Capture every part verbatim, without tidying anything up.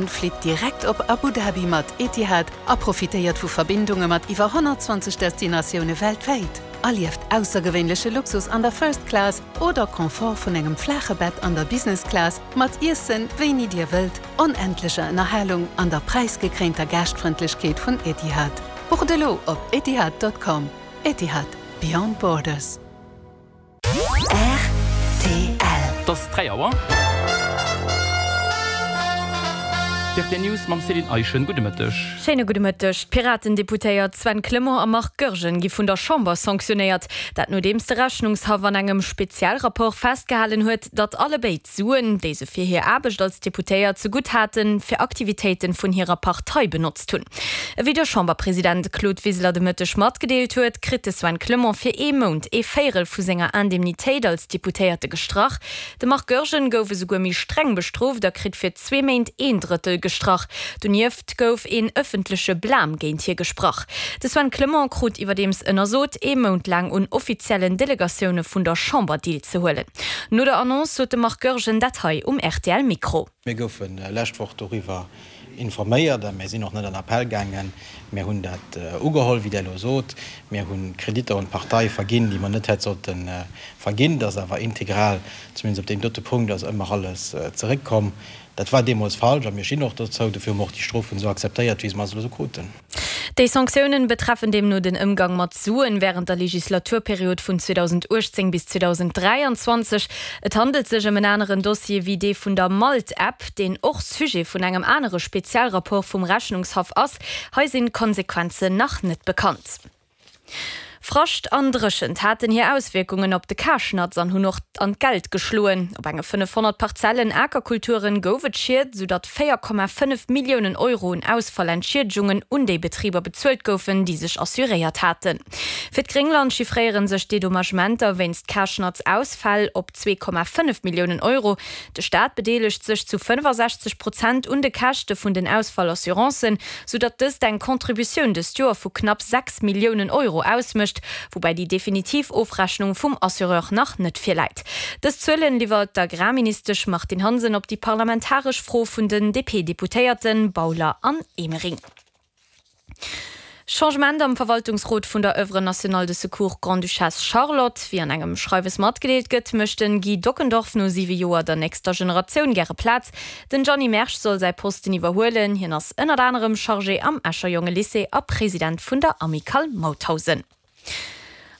Flitt direkt op Abu Dhabi mat Etihad a profitéiert vu Verbindunge mat iwwer honnertzwanzeg Destinatioune weltwäit. Erlieft aussergewéinleche Luxus an der First Class oder Confort vun engem flaache Bett an der Business Class mat Iessen wéini Dir wëllt, onendlecher Ënnerhalung an der präisgekréinter Gaaschtfrëndlechkeet vun Etihad. Bucht elo op etihad.com. Etihad, Beyond Borders. Rtl. Et ass dräi Auer. D'rtl News mam Céline Eischen. Gudde Mëtteg. Schéine gudde Mëtteg. D'Piraten-Deputéiert Sven Clement a Marc Goergen gi vun der Chamber sanktionéiert. Dat nodeems de Rechnungshaff an engem Spezialrapport festgehalen huet, datt allebéid Suen, déi se fir hir Aarbecht als Deputéiert zegutt haten, fir Aktivitéite vun hirer Partei benotzt hunn. Ewéi de Chamberpresident Claude Wiseler de Mëtteg matgedeelt huet, kritt de Sven Clement fir ee Mount ee Véierel vu senger Indemnitéit als Deputéierte gestrach. De Marc Goergen gouf esouguer méi streng bestrooft a kritt fir zwee Méint een Drëttel gestrach. Donieft gouf een ëffentleche Blam géint hie gesprach. De Sven Clement krut iwwerdeems ënnersot, ee Mount laang un offiziellen Delegatioune vun der Chamber deelzehuelen. No der Annonce sot de Marc Goergen dat hei um R T L-Mikro. Mir goufe lescht Woch doriwwer informéiert a mir sinn och net an Appell gaangen. Mir hunn dat ugeholl, wéi Der elo sot. Mir hu Kreditter un d'Partei verginn, déi mer net hätt sollte verginn. Dat ass awer integral, zumindest op deem dote Punkt ass ëmmer alles zeréckkomm. Dat war deemools falsch a mir stinn och dozou. Dofir hu mer och déi Strofen esou akzeptéiert, wéi mer se elo esou kruten. Déi Sanktiounen betreffen deemno den Ëmgang mat Suen wärend der Legislaturperiod vun zweedausendachtzéng bis zweedausendräianzwanzeg. Et handelt sech ëm en aneren Dossier wéi dee vun der Malt-App, deen och Sujet vun engem anere Spezialrapport vum Rechnungshaff ass. Hei sinn d'Konsequenzen nach net bekannt. Frascht an Dréchent haten hir Auswierkungen op de Karschnatz an hunn och an d'Geld geschloen. Op enge fënnefhonnert Parzellen Akerkulturen gouf et Schied, soudatt véier Komma fënnef Milliounen Euro un Ausfallentschiedigungen un déi Betriber bezuelt goufen, déi sech assuréiert haten. Fir d'Gréngland chiffréiere sech d'Dedommagementer wéinst Karschnatz-Ausfäll op zwee Komma fënnef Milliounen Euro. De Staat bedeelegt sech zu fënnefasechzeg Prozent un de Käschte vun den Ausfallassurancen, soudatt dëst eng Contributioun dëst Joer vu knapp sechs Milliounen Euro ausmécht. woubäi déi definitiv Ofrechnung vum Assureur nach net virläit. Dës Zuelen liwwert d'Agrarministesch Martine Hansen op déi parlamentaresch Fro vun den D P-Deputéierte Bauler an Emering. Changement am Verwaltungsrot vun der Oeuvre nationale de secours Grande-Duchesse Charlotte. Wéi an engem Schreiwes matgedeelt gëtt, mécht den Guy Dockendorf no siwe Joer der nächster Generatioun gäre Plaz. Den Gianni Mersch soll säi Posten iwwerhuelen. Hien ass ënnert anerem Chargé am Escher Jongelycée a President vun der Amicale Mauthausen.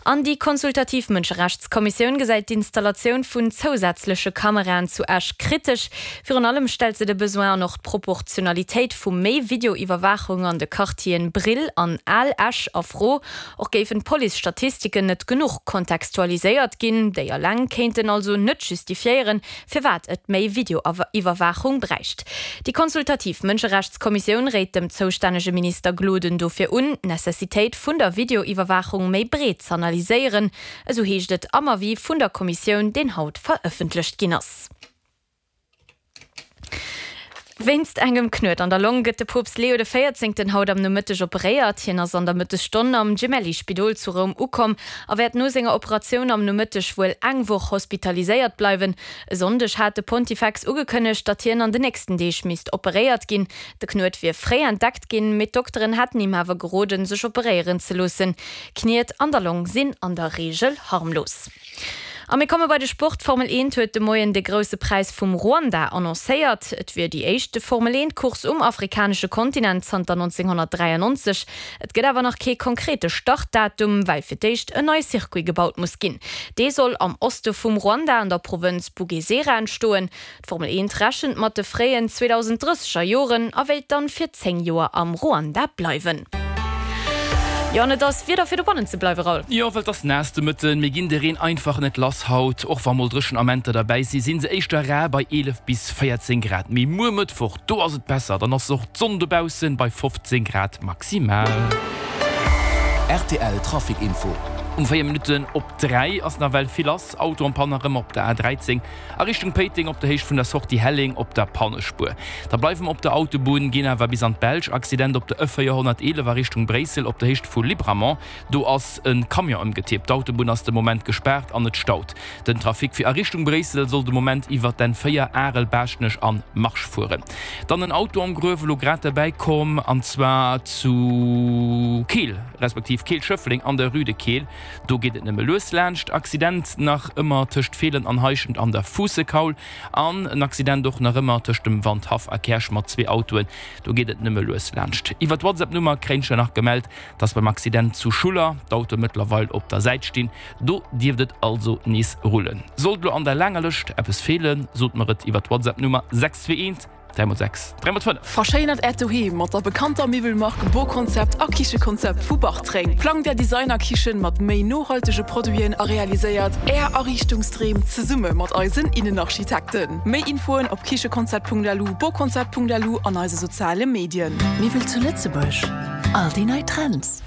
An déi konsultativ Mënscherechtskommissioun gesäit d'Installatioun vun zousätzleche Kameraen zu Esch kritesch. Virun allem stellt se de Besoin an och d'Proportionalitéit vu méi Videoiwwerwaachung an de Quartieren Brill an Al Esch a Fro. Och géifen d'Police-Statistiken net genuch kontextualiséiert ginn, déi eleng kéinten also net justifiéieren, firwat et méi Videoiwwerwaachung bräicht. Déi konsultativ Mënscherechtskommissioun réit dem zoustännege Minister Gloden dofir un, d'Necessitéit vun der Videoiwwerwaachung méi breet z'analyséieren, esou heescht et am Avis vun der Kommissioun, deen haut verëffentlecht ginn ass. Wéinst engem Knuet an der Long gëtt de Poopst Leo de Véierzéngten haut am Nomëtteg operéiert. Hien ass an der Mëttesstonn am Gemelli-Spidol zu Roum ukomm a wäert no senger Operatioun am Nomëtteg wuel eng Woch hospitaliséiert bleiwen. E Sonndeg hat de Pontifex ugekënnegt, datt hien an den nächsten Deeg misst operéiert ginn. De Knuet wier fréi entdeckt ginn, mee d'Dokteren hätten him awer geroden, sech operéieren ze loossen. Kniet an der Long sinn an der Reegel harmlos. A mir komme bei de Sport. D'Formel eent huet de Moien de Grousse Präis vum Ruanda annoncéiert. Et wier déi éischt Formel eent Course um afrikanesche Kontinent zanter nonzénghonnertdräiannonzeg. Et gëtt awer nach kee konkrete Startdatum, well fir d'éischt en neie Circuit gebaut muss ginn. Dee soll am Oste vum Ruanda an der Provënz Bugesera entstoen. D'Formel eent rechent mat de fréien zweedausend drësseger Joren a wéilt dann fir zéng Joer am Ruanda bleiwen. Jo, an et ass Wieder fir dobannen ze bleiwen, Raoul. Jo, well et ass naass de Mëtten. Mir ginn de Reen einfach net lass haut. Och wa mol dréchen Amenter derbäi sinn, si se éischter rar bei eelef bis véierzéng Grad. Mee muer Mëttwoch, do ass et besser, dann ass och d'Sonn dobaussen bei fofzéng Grad maximal. R T L Trafic Info. Um véier Minutten op dräi ass nawell vill lass, Auto en panne nach ëmmer op der A dräizéng a Richtung Péiteng op der Héicht vun der Sortie Helleng op der Pannespuer. Da bleiwe mer op der Autobunn, ginn awer bis an d'Belsch. Accident op der E véierhonnerteelef a Richtung Bréissel op der Héicht vu Libramont. Do ass e Camion ëmgetippt. D'Autobunn ass de Moment gespaart an et staut. Den Trafic fir a Richtung Bréissel soll de Moment iwwer d'N véier, Arel, Baaschtnech an Marche fueren. Dann en Auto am Gruef, elo grad derbäi komm, an zwar zu Keel, respektiv Keel-Schëffleng an der Rue de Keel. Do geet et nëmme lues laanscht. Accident nach ëmmer tëscht Feelen an Heischent an der Fuussekaul an en Accident och nach ëmmer tëscht dem Wandhaff a Käerch mat zwee Autoen. Do geet et nëmme lues laanscht. Iwwer d'WhatsApp-Nummer kréien ech nach gemellt, dass beim Accident zu Schuller d'Autoe mëttlerweil op der Säit stinn. Do dierft et also nees rullen. Sollt elo an der laanger Lëscht eppes feelen, sot mer et iwwer d'WhatsApp-Nummer sechs zwee eent dräi mol sechs dräi mol fënnef. Verschéinert Äert Doheem mat der bekannter Miwwelmark Boconcept a Kichekonzept vu Bartreng. Plangt Är Designerkichen mat méi nohaltege Produiten a realiséiert Är Ariichtungsdreem zesumme mat eisen Innenarchitekten. Méi Infoen op kichekonzept.lu, boconcept.lu an eise soziale Medien. Miwwel zu Lëtzebuerg, all déi nei Trends.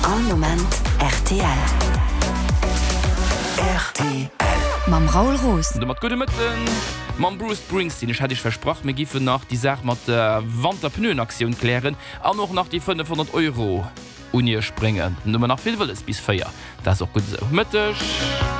All Moment rtl. Rtl. Mam Raoul Roos. An domat gudde Mëtten mam Bruce Springsteen. Ech hat Iech versprach, mir giffen nach déi Saach mat der Wanterpneuenaktioun klären an och nach déi fënnefhonnert Euro un Iech bréngen. Nun hu mer nach vill wëlles bis véier. Dat ass och gutt esou. Mëtteg.